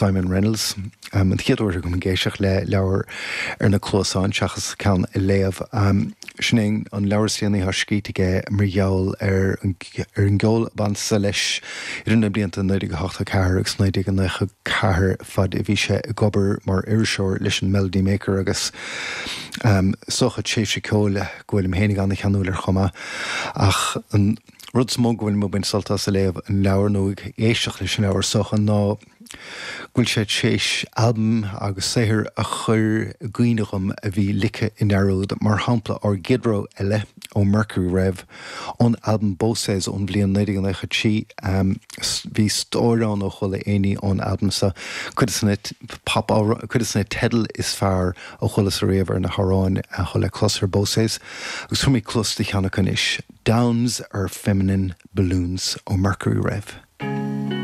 Simon Reynolds. An chéad uair agam ag éisteacht le leabhar ar na cluasáin seachas ceann a léamh. Sin é an leabhar is déanaí atá scríte aige mar gheall ar an gceol a baineas leis idir na blianta 1984 agus 1994 fad a bhí sé ag obair mar iriseoir leis an Melody Maker agus is dócha tréimhse ceoil go bhfuilim féinig an-cheanúil air chomh maith. Ach an rud is mó go bhfuilim ag baint sult as ag léamh an leabhair nó ag éisteacht leis an leabhar is dócha ná go bhfuil sé tar éis albaim agus saothair a chur i gcuimhne dhom a bhí ligthe i ndearúd, mar shampla ár gcéad rogha eile ó Mercury Rev, ón albam Boses ón bhliain 1993. Bhí stór ann ó chuala éinní ón albam seo, cuid de na pop cuid de na teidil is fearr a chualas ariamh ar na hamhráin atá le clos ar Boses, agus tabharfaidh mé cluas do cheann acu anois, Downs Are Feminine Balloons ó Mercury Rev.